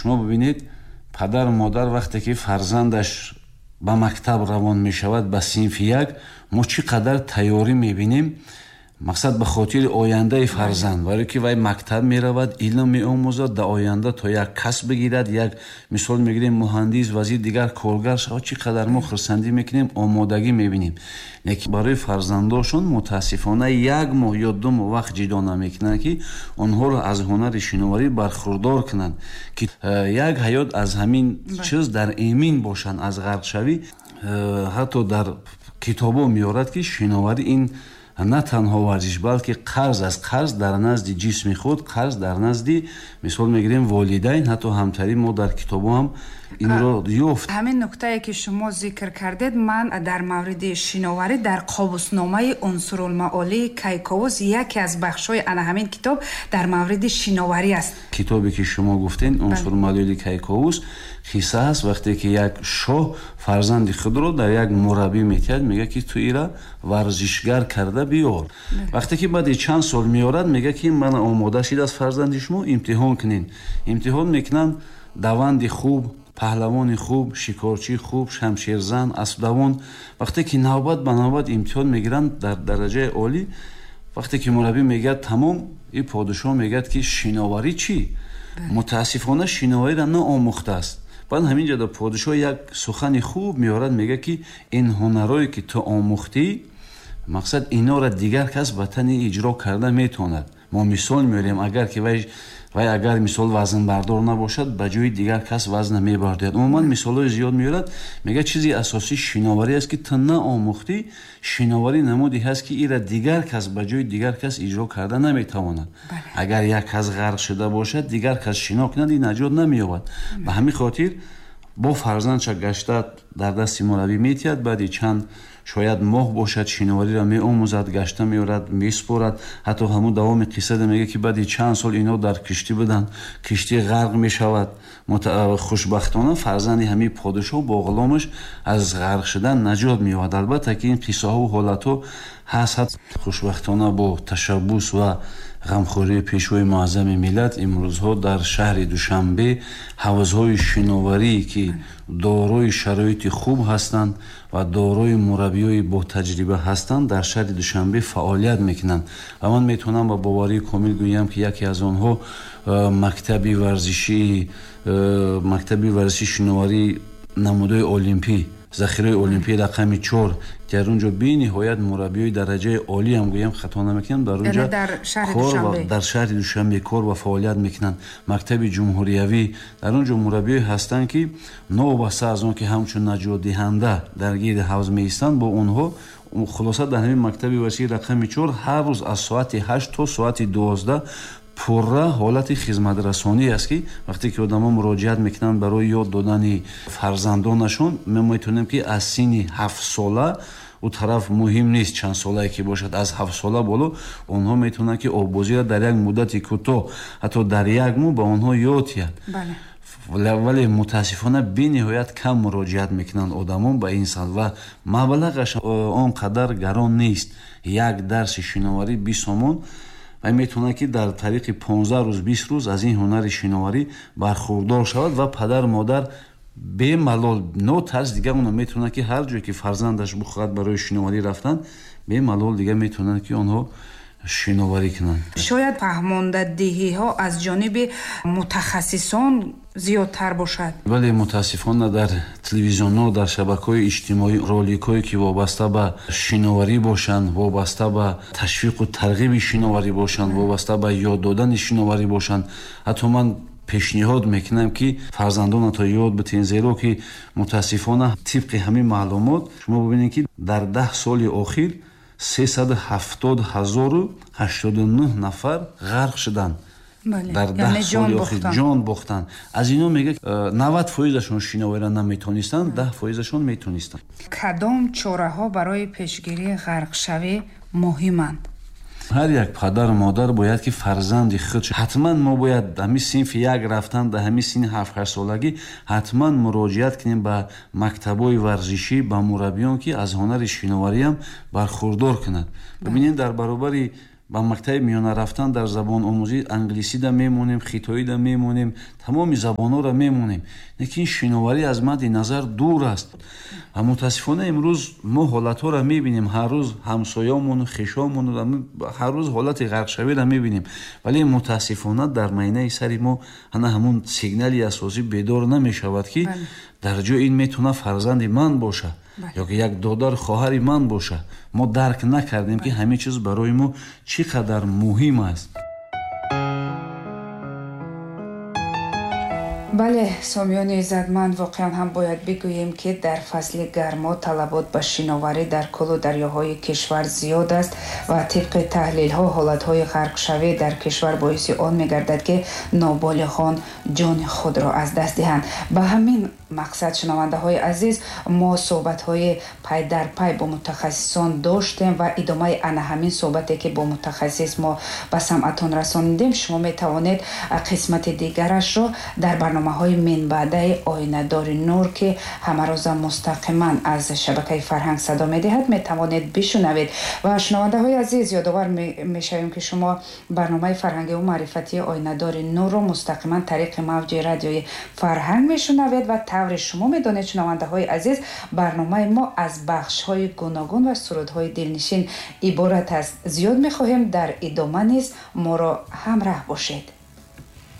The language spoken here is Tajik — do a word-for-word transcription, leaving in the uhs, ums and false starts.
Шумо бибинед, падару модар вақте ки фарзандаш ба мактаб равон мешавад, ба синфи як, мо чӣ қадар тайёрӣ мебинем, мақсад ба хотири ояндаи фарзанд, барое ки вай мактаб меравад, илм меомӯзад, дар оянда то як касб бигирад, як мисол мегирем муҳандис, вазир, дигар коргар шавад, чӣ қадар мо хурсандӣ мекунем, омодагӣ мебинем. Лекин барои фарзандошон мутаассифона як моҳ ё ду моҳ вақт ҷидо намекунанд, ки онҳоро аз ҳунари шиноварӣ бархурдор кунанд, ки як ҳаёт аз ҳамин чиз дар эмин бошанд, аз ғарқшавӣ. Ҳатто дар китобо меорад, ки шиноварӣ ин на танҳо варзиш, балки қарз аст, қарз дар назди ҷисми худ, қарз дар назди, мисол мегирем, волидайн, ҳатто ҳамтари мо дар китобо ҳам инро ёфт. Ҳамин нуктае ки шумо зикр кардед, ман дар мавриди шиноварӣ дар қобусномаи Унсурулмаолии Кайковус яке аз бахшҳои ана ҳамин китоб дар мавриди шиноварӣ аст. Китобе ки шумо гуфтед, Унсурулмаолии Кайковус, қисса аст вақте ки як шоҳ фарзанди худро дар як мураббӣ метиҳад, мегӯяд ки ту ира варзишгар карда биёр. Вақте ки баъди чанд сол меорад, мегӯяд ки ман омода шидааст фарзанди шумо, имтиҳон кунед. Имтиҳон мекунанд, даванди хуб, паҳлавони хуб, шикорчии хуб, шамшерзан, аспдавон. Вақте ки навбат ба навбат имтиҳон мегиранд дар дараҷаи олӣ, вақте ки мураббӣ мегӯяд тамом, ин подшоҳ мегӯяд ки шиноварӣ чӣ? Мутаассифона шиновариро наомӯхтааст. Баъд ҳамин ҷо дар подшоҳ як сухани хуб меорад, мегӯяд ки ин ҳунарое ки ту омӯхтӣ, мақсад инора дигар кас ба тани иҷро карда метавонад. Мо мисол меорем, агар ки вай вай агар мисол вазнбардор набошад, ба ҷои дигар кас вазн мебардорад. Умуман мисолҳои зиёд меорад, мегӯяд чизи асосӣ шиноварӣ аст ки ту наомӯхтӣ, шиноварӣ намуде ҳаст ки ира дигар кас ба ҷои дигар кас иҷро карда наметавонад. Агар як кас ғарқ шуда бошад, дигар кас шино кунад, ин наҷот намеёбад. Ба ҳамин хотир бо фарзандша гашта дар дасти мураббӣ метиҳад, баъди чанд шояд моҳ бошад, шиновариро меомӯзад, гашта меорад, месупорад. Ҳатто ҳамун давоми қиссада мегӯяд ки баъди чанд сол ино дар киштӣ буданд, киштӣ ғарқ мешавад. Хушбахтона фарзанди ҳамин подшоҳ бо ғуломаш аз ғарқ шудан наҷот меёбад. Албатта ки ин қиссаҳо ва ҳолатҳо ҳаст. Хушбахтона бо ташаббус ва ғамхории пешвои муаззами миллат имрӯзҳо дар шаҳри Душанбе ҳавзҳои шиноварӣ ки дорои шароити хуб ҳастанд ва дорои мураббиёи ботаҷриба ҳастанд, дар шаҳри Душанбе фаъолият мекунанд. Ва ман метавонам ба боварии комил гӯям ки яке аз онҳо мактаби варзишии мактаби варзиши шиноварӣ намудои олимпӣ, захираи олимпӣ рақами чор, дар он ҷо бениҳоят мураббиёи дараҷаи олӣ ҳам гӯям хато намекунам, дар он ҷо дар шаҳри Душанбе кор ва фаъолият мекунанд. Мактаби ҷумҳуриявӣ, дар он ҷо мураббиёе ҳастанд ки новобаста аз он ки ҳамчун наҷотдиҳанда дар гирди ҳавз меистанд, бо онҳо хулоса дар ҳамин мактаби варзишии рақами чор ҳар рӯз аз соати ҳашт то соати дувоздаҳ пурра ҳолати хизматрасонӣ аст ки вақте ки одамо муроҷиат мекунанд барои ёд додани фарзандонашон, мо метавонем ки аз синни ҳафтсола, у тараф муҳим нест чанд солае ки бошад, аз ҳафтсола боло онҳо метавонанд ки оббозиро дар як муддати кӯтоҳ, ҳатто дар як моҳ ба онҳо ёд диҳад. Вале мутаассифона бениҳоят кам муроҷиат мекунанд одамон ба ин самт ва маблағаш он қадар гарон нест. Як дарси шиноварӣ бист сомон ва метавонад ки дар тариқи понздаҳ рӯз, бист рӯз аз ин ҳунари шиноварӣ бархурдор шавад ва падар модар бемалол, нотарс дигар онҳо метавонанд ки ҳар ҷое ки фарзандаш бихоҳад барои шиноварӣ рафтан, бемалол дигар метавонанд ки онҳо шиноварӣ кунанд. Шояд фаҳмондадиҳиҳо аз ҷониби мутахассисон зиёдтар бошад. Вале мутаассифона дар телевизионҳо, дар шабакаҳои иҷтимоӣ роликҳое ки вобаста ба шиноварӣ бошанд, вобаста ба ташвиқу тарғиби шиноварӣ бошанд, вобаста ба ёд додани шиноварӣ бошанд, ҳатто ман пешниҳод мекунам ки фарзандонатон ёд битен, зеро ки мутаассифона тибқи ҳамин маълумот шумо бибинед ки дар даҳ соли охир сесаду ҳафтод ҳазору ҳаштоду нӯҳ нафар ғарқ шуданд. Дар даҳ соли охир ҷон бохтанд. Аз ино мегӯяд навад фоизашон шиновариро наметонистанд, даҳ фоизашон метонистанд. Кадом чораҳо барои пешгирии ғарқшавӣ муҳиманд? Ҳар як падару модар бояд ки фарзанди худ ҳатман мо бояд ҳамин синфи як рафтан, дар ҳамин синни ҳафт-ҳашт солагӣ ҳатман муроҷиат кунем ба мактабҳои варзишӣ, ба мураббиён ки аз ҳунари шиновариам бархурдор кунанд. Бибинед, дар баробари Ба мактаби миёна рафтан дар забономӯзӣ англисида мемонем, хитоида мемонем, тамоми забонҳоро мемонем, лекин шиноварӣ аз мадди назар дур аст. Ва мутаассифона имрӯз мо ҳолатҳоро мебинем, ҳар рӯз ҳамсоямону хешомону ҳар рӯз ҳолати ғарқшавиро мебинем, вале мутаассифона дар майнаи сари мо ана ҳамун сигнали асосӣ бедор намешавад, ки дар ҷои ин метавона фарзанди ман бошад ё ки як додар хоҳари ман бошад. Мо дарк накардем, ки ҳамин чиз барои мо чӣ қадар муҳим аст. Бале, сомиёни иззатманд, воқеан ҳам бояд бигӯем, ки дар фасли гармо талабот ба шиноварӣ дар кӯлу дарёҳои кишвар зиёд аст ва тибқи таҳлилҳо ҳолатҳои ғарқшавӣ дар кишвар боиси он мегардад, ки ноболиғон ҷони худро аз даст диҳанд. Ба ҳамин мақсад, шунавандаҳои азиз, мо суҳбатҳои пай дар пай бо мутахассисон доштем ва идомаи ана ҳамин суҳбате, ки бо мутахассис мо ба самъатон расонидем, шумо метавонед қисмати дигарашро дар барномаҳои минбаъдаи Оинадори нур, ки ҳамарӯза мустақиман аз шабакаи Фарҳанг садо медиҳад, метавонед бишунавед. Ва шунавандаҳои азиз, ёдовар мешавем, ки шумо барномаи фарҳангиву маърифатии Оинадори нурро мустақиман тариқи мавҷи радиои Фарҳанг мешунавед ва тавре шумо медонед, шунавандаҳои азиз, барномаи мо аз бахшҳои гуногун ва сурудҳои дилнишин иборат аст. Зиёд мехоҳем дар идома низ моро ҳамраҳ бошед.